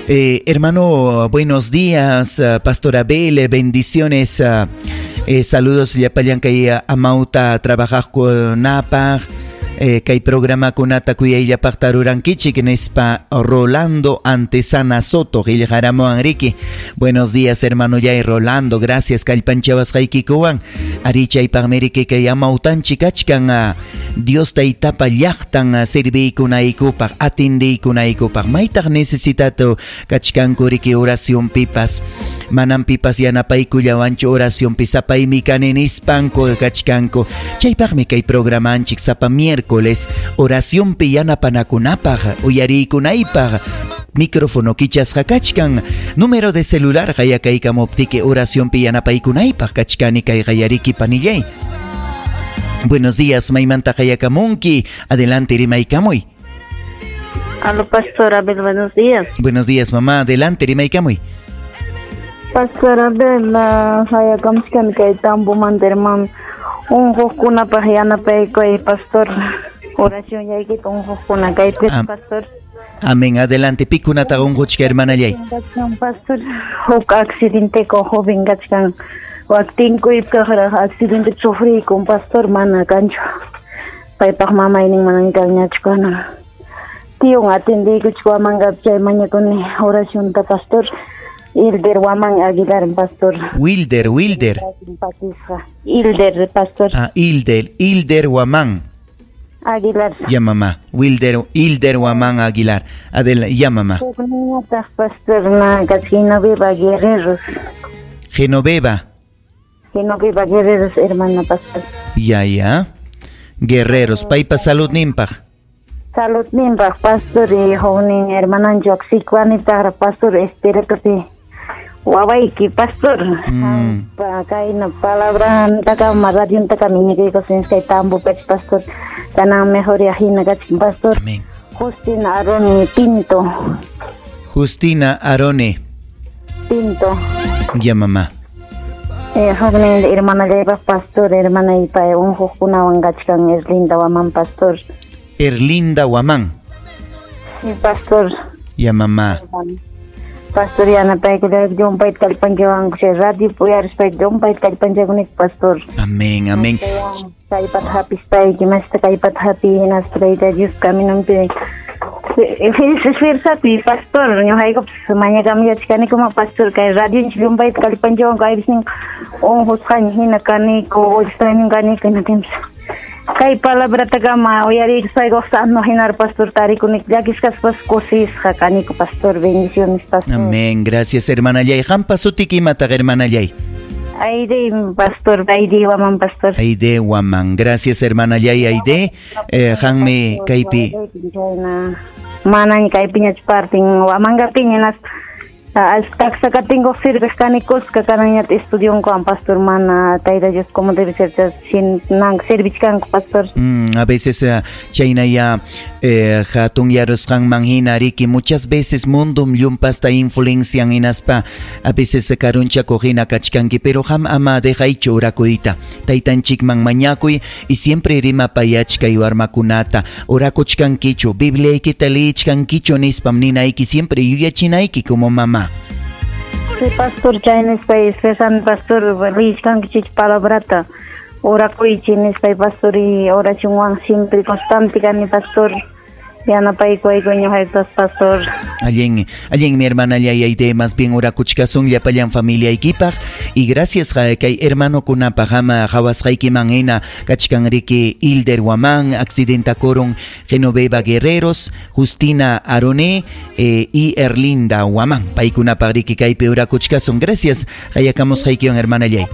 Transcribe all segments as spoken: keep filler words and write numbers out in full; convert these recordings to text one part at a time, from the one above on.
Eh, hermano, buenos días, Pastor Abel, bendiciones. Eh, saludos llapallan kay amauta trabajaqkunapaq. Eh, kay programakunata kuyayllapaqta rurankichik nispa Rolando Antesana Soto qillqaramuwan riki. Buenos días, hermano Yay Rolando, gracias kallpanchawasqaykikuwan. Ari chaypaqmi riki kay amautanchik kachkan Dios taytapa llaqtan serviykunaykupaq, atindiykunaykupaq. Maytaq necesitatu kachkanku riki oracionpipas. Manam pipas yanapaykullawanchu oracionpi sapaymi kani nispanku kachkanku. Chaypaqmi kay programanchik sapa miércoles oracionpi yanapanakunapaq, uyariykunaypaq. Micrófono kichasqa kachkan. Número de celular qayakaykamuptiki oracionpi yanapaykunaypaq kachkani kay qayariki panillay. Buenos días, maymanta qayakamunki. Adelante, rimaykamuy. Aló, Pastor Abel, buenos días. Buenos días, mamá. Adelante, rimaykamuy. Pastor Abel, hayakamuchkani kay Tambomanta, hermano. Unquqkunapaq yanapaykuy, pastor. Oración yaykita unquqkuna kaypi, pastor. Amén. Adelante. Pikunata unquchka, hermanallay. Pastor, huk accidente con joven kachkan. Waktinkuypaqraq accidente sufriykun, pastor, mana kanchu. Paypaq mamaynin manan kanñachu kanan. Tiyun atendiykuchik wamanqa chay mañakuni oracionta, pastor. Hilder Guamán Aguilar, pastor. Wilder, Wilder. Hilder, pastor. Ah, Hilder, Hilder Guamán Aguilar. Ya, mamá. Wilder, Hilder Guamán Aguilar. Adela, ya, mamá. Pastor, na Genoveva Guerreros. Genoveva. Genoveva Guerreros, hermana, pastor. Ya, ya. Guerreros. Paypa salud nimpaq. Salud nimpaq, pastor, y joven hermanancho aksikwani pastor, espérate. Wawayki, pastor. Mm. Kayna palabra takama radio takama ñiqiykusin kay tambo pech, pastor. Kanan mejor hina kachkan, pastor. Amén. Justina Arone Pinto. Justina Arone Pinto. Ya, mamá. Eh, joven hermana lleva, pastor, hermana y pa unquqkunawan kachkan Erlinda Guamán, pastor. Erlinda Guamán. Sí, pastor. Ya, mamá. Pastor, yanapaykullay llumpayta kallpanchawanku chay radio uyarispayki llumpayta kallpanchakunik, pastor. Amén, amén. Kallpata hapispayki, masta kallpata hapi, hinaspa Tayta Dios caminonpi esforzakuy, pastor. Ñuqaykupas mañakamuyachkanikuma, pastor, kay radionchik llumpayta kallpanchawanku aypisnin unqusqaña hina kaniku, extraño kaniku, hinaptinpas kay palabratakama uyariykuspayku sano hinar, pastor, tarikunik llakisqaspas kusisqa kaniku, pastor. Bendiciones, pastor. Amén, gracias, hermanallay. Qampa sutiki imataq, hermanallay? Aide, pastor, Aide Guamán, pastor. Aide Guamán, gracias, hermanallay Aide. Eh, qanmi kaypi manaña kaypiñachu partin Huamangapiña hinaspa taksakatinkuq sirviq kanikusqa kananñata estudionkuwan, pastor, mana Tayta Dios como debe ser servichkanku, pastor. Mm, a veces uh, chaynaya eh, hatunyarusqanman hina riki muchas veces mundum llumpasta influencian hinaspa a veces karunchakuq hina kachkanki, pero qam ama dejaychu orakuyta. Taytanchikman mañakuy y siempre rimapayachkay warmakunata. Orakuchkankichu, Bibliaykita liyichkankichu nispam ninayki, siempre yuyachinayki como mamá. Sí, pastor, chay nispay esforzan, pastor, liyichkankichik palabrata, orakuychik nispay, pastor, y oracionwan siempre constante kani, pastor. Yanapaykuwayku ñuqaypas, pastor. Allin, allin mi hermana Aide, más bien orakuchkasun llapallan familiaykipaq y gracias kay hermanokunapaq ama qhawasqaykiman hina kachkan riki Hilder Guamán, accidentakurun Genoveva Guerreros, Justina Aroné eh, y Erlinda Guamán. Paykunapaq riki kaypi orakuchkasun. Gracias, qayakamusqaykiwan, hermana Yay.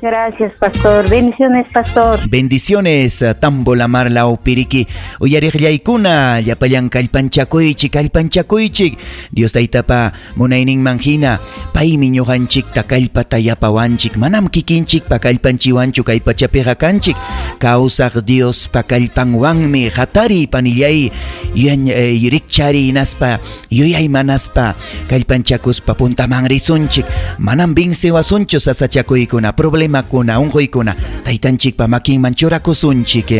Gracias, pastor. Bendiciones, pastor. Bendiciones, Tambo Lamar Lao Piriki. Uyariqllaykuna, llapallan kallpanchakuychik, kallpanchakuychik. Dios taytapa munayninman hina, paymi ñuqanchikta kallpata yapawanchik. Manam kikinchikpa kallpanchiwanchu kay pachapiqa kanchik. Kawsaq Diospa kallpanwanmi hatari panillay, eh, rikchari hinaspa, yuyaymanaspa, kallpanchakuspa puntaman risunchik. Manam vincewasunchu sasachakuykuna, problema kuna unquykuna, taytanchikpa makinman churakusunchik.